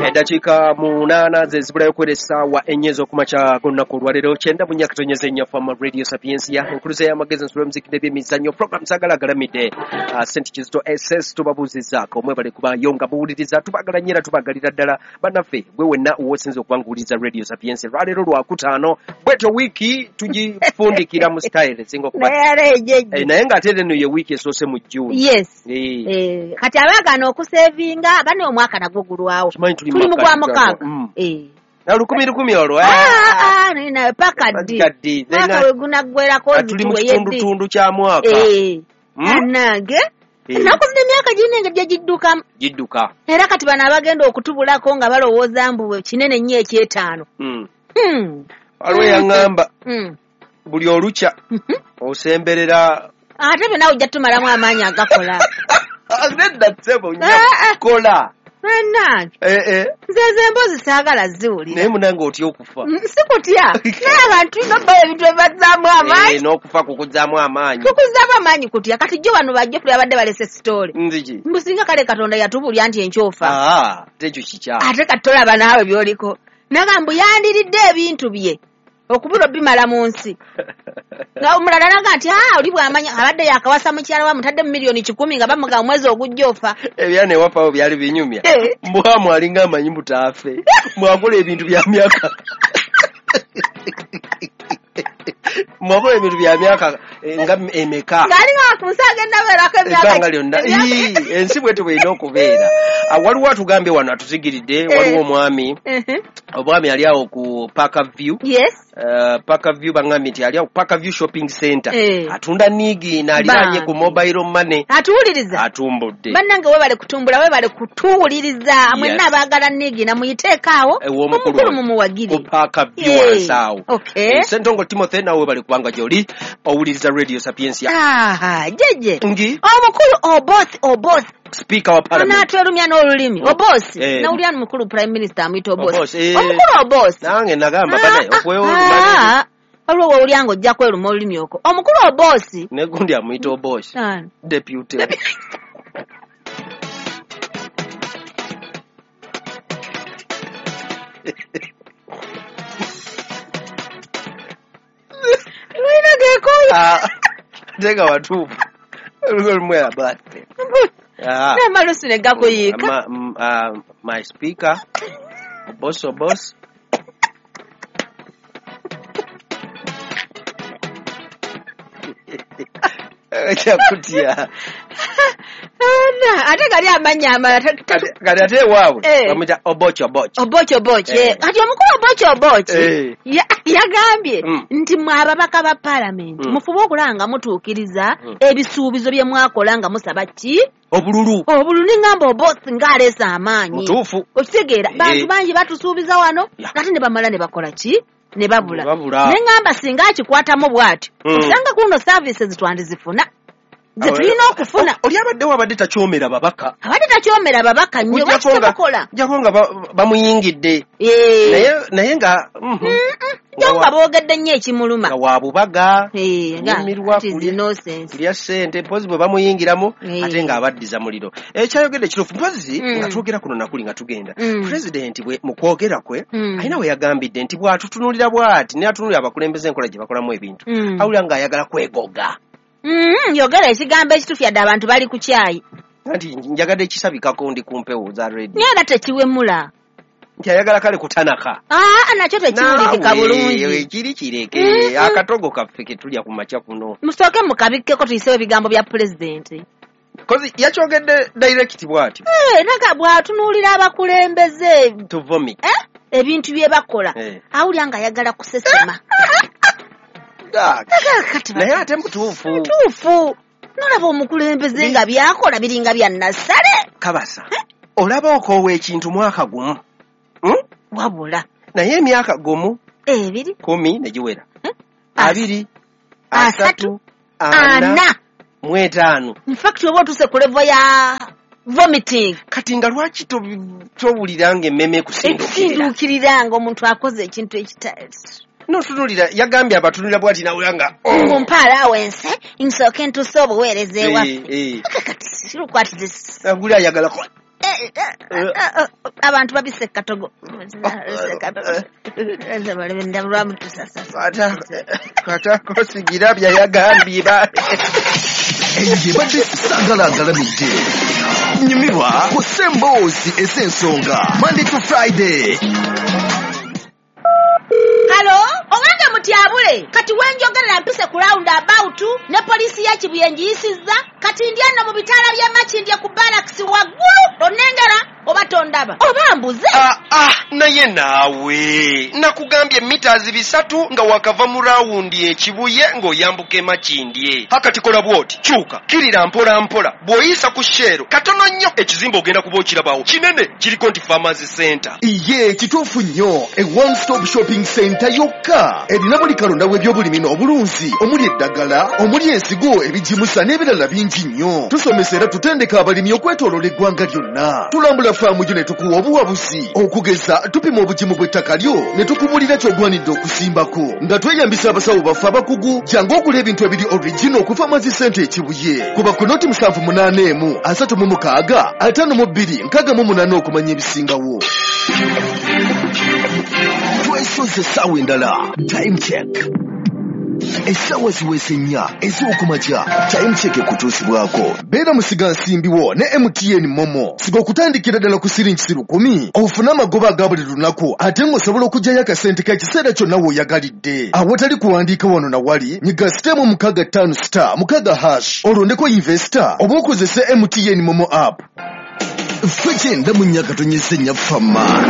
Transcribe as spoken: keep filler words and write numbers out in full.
Eddakiika munaana ze zibulayo okuwera essaawa ennya ez'okumakya g'olunaku olwaleero kyenda mu nnya katonyeza ennyo Fama Radio Sapiensia enkuluze y'amagezi ensula y'omuziki n'ebyemizannyo program Saagala Agalamidde. uh, Senti Kizito S S tubabuuzizaako mwebale kubayo nga muwuliriza, tubagala nnyo era tubagalira ddala bannaffe gwe wenna w'osinza okuba nga owuliriza Radio Sapiensia. Lwaleero lwakutaano bwetyo wiiki tugifundikira mu style esinga okuba naye ng'ate eno ye wiiki esoose mu June. Yes. Eh, kati abaagana okusevinga bane omwaka nagwo gulwawo tuli mu gwa mukaaga. Eh. Na lukumi lukumi olwo. Ah ah na paka ddi. Mwaka we gunaggwerako tuli mu kitundutundu kya mwaka. Eh. Nange ennaku zino emyaka girina engeri gye giddukamu. Gidduka. Era kati bano abagenda okutubulako nga balowooza mbu kinene nnyo ekyetaano. Waliwo yaŋŋamba buli olukya osemberera ate byonna ojja tumalamu amaanyi agakola. Nedda ssebo nja kukola. Bannange nze ezo emboozi saagala ziwulira. Naye munange otya okufa? Sikutya, naye abantu tulina obbawo ebintu ebibazzaamu amaanyi. N'okufa kukuzzaamu amaanyi. Kukuzzaamu amaanyi kutya? Kati jjo bano bajjo tuli abadde balese sitoole. Nziki? Mbu singa kale Katonda yatubuulira nti enkyofa. Ate ekyo kikyamu. Ate kati tolaba naawe by'oliko. Naga mbu yandiridde ebintu bye okubula obimala mu nsi. Nga omulala naga nti aa oli bw'amanya abadde yakawasa mukyala wa mutadde mu miliyoni kikumi nga bamugamba omwezi ogujja ofa. Ebyana ewaffe awo byali binyumya. Mbwamu alinga amanyi mbu taafe. Mwakola ebintu bya myaka. Mwakola ebintu bya myaka nga emeka. Ng'alinga ku nsi agenda beerako emyaka. Ebbanga lyonna. Ensi bwetyo bw'erina okubeera. Waliwo atugambye wano atuzigiridde, waliwo omwami. Omwami ali awo ku Parker View. Yes. Uh, Parker View bangambye nti ali awo Parker View Shopping Center. Eh. Atunda niigiina aliraanye ku mobile money. Atuwuliriza. Atumbudde. Bannange webale kutumbula, webale kutuwuliriza. Mwenna abaagala niigiina muyiteeko awo. Omukulu mumuwagire. Ku Parker View wansi awo. Okay. Ssentongo Timothy nawe webale kubanga gy'oli owuliriza Radio Sapiensia. Ah, jeje. Ngi. Omukulu Oboth Oboth. Speaker wa Parliament. Anaatwerumya n'olulimi. Oboth. Eh. Nawulira mukulu Prime Minister amuyita Oboth. Oboth. Eh. Omukulu Oboth. Nange nagamba banaye okweoluma. Waliwo w'owulira ng'ojja kweruma olulimi okwo. Omukulu Oboth. Ne gundi amuyita Oboth. Deputy. Lwina geekooya. Ah, ate nga watuufu. Olumwe abadde. Ah. N'amalusu ne gakuyiika. My speaker, boss boss. Kutya. Ate gali amannya amalala. Kati ate ewaabwe bamuyita Oboch Oboch. Oboch Oboch. Kati omukulu Oboch Oboch yagambye nti mmwe ababaka ba Paalamenti mufube okulaba nga mutuukiriza ebisuubizo bye mwakola nga musaba ki? Obululu. Obululu n'engamba Oboth ng'aleese amaanyi. Mutuufu. Okitegeera bantu bangi batusuubiza wano ate ne bamala ne bakola ki? Ne babula. Ne ngamba singa akikwatamu bw'atyo osanga kuno services twandizifuna. Ze tulina okufuna. Oli abaddewo abadde takyomera babaka. Abadde takyomera babaka nnyo lwaki tebakola? Kujjako nga bamuyingidde. Naye naye nga Kujjako nga boogedde nnyo ekimuluma. Nga wa bubaga. Nyumirwa kulya ssente mpozi bwe bamuyingiramu ate ng'abaddiza muliro. Ekyayogedde kituufu mpozi nga twogera kuno nakuli nga tugenda. Pulezidenti bwe mu kwogera kwe alina we yagambidde nti bw'atutunuulira bw'ati naye atunuulira abakulembeze enkola gye bakolamu ebintu. Awulira ng'ayagala kwegoga. Mm, yogera ekigambo ekituufu yadde abantu bali ku kyayi. Anti njagadde ekisabikako ndi ku mpewo za radio. Naye era tekiwemula. Nti ayagala kale kutanaka. Aa, nakyo tekiwulikika bulungi. Kiri kireke akatogo kaffe ke tulya ku makya kuno. Musooke mukabikkeko tuyisewo ebigambo bya pulezidenti. Kozi yakyogedde direct bw'atyo. Eh, naga bw'atunuulira abakulembeze. To vomit. Eh? Ebintu bye bakola. Awulira ng'ayagala kusesema. Naye ate mutuufu. Mutuufu. Nolaba omukulembeze nga byakola biringa bya nassale. Kabasa. Olaba okoowa ekintu mwaka gumu. Wabula. Naye emyaka gumu. Ebiri. Kumi ne giwera. Abiri. Asatu. Ana. Mu etaano. In fact oba otuuse ku level ya vomiting. Kati nga lwaki towulira ng'emmeme ekusinduukirira? Ekusinduukirira ng'omuntu akoze ekintu ekitali. Notunulira yagambye abatunulira bw'ati nawulira nga mumpa allowance nsooke ntuuse obuweereza ewaffe. Kati look at this. Agula ayagala Eh, eh, eh, abantu babisse katogo. Kata kosigira byayagambye ba Eyo ebadde Sagala Agalamidde. Nyumirwa ku Semboozi ez'ensonga, Monday to Friday. Halo, owange mutyabule, kati wenjogerera mpise ku round about ne poliisi ya Kibuye ngiyisizza, kati ndi ano mu bitaala by'e Makindye ku barracks waggulu, onnengera oba tondaba oba mbuze? Ah, ah, naye naawe nakugambye mitazi bisatu nga wakava mu rawundi ekibuye ng'oyambuka emakindye. Hakati kola bw'oti, kyuka kirira mpola mpola, bw'oyisa ku Shell katono nnyo ekizimbe ogenda kuba okirabawo kinene, kiriko nti Farmers Center. Iye, kituufu nnyo. E one stop shopping center yokka erina buli kalonda w'ebyobulimi n'obulunzi, omuli eddagala, omuli ensigo, ebigimusa n'ebirala bingi nnyo. Tusomesa era tutendeka abalimi okwetooloola eggwanga lyonna. Tulambula faamu yo ne tukuwa obuwabuzi. Okugeza, tupima obugimu bw'ettaka lyo ne tukubulira ky'ogwanidde okusimbako nga tweyambisa abasawo baffe abakugu. Jangu ogula ebintu ebiri original ku Farmers Center Ekibuye. Kuba ku noti musanvu munaana emu asatu mu mukaaga ataano mu bbiri nkaaga mu munaana okumanya ebisingawo. Twesoze essaawa endala. Time check, essaawa ziweze nnya ez'okumakya. Time check ekutuusibwako beera musigansimbi wo ne M T N MoMo. Siga okutandikira ddala ku siringi lukumi ofune amagoba aga buli lunaku, ate ng'osobola okuggyayo akasente k'ekiseera kyonna w'oyagalidde awatali kuwandiika wano na wali. Nyiga star mu mukaaga ttaano star mukaaga hash, olondeko investor oba okozese M T N MoMo app. Ffe kyenda mu nnya katonyeze nnya Fama.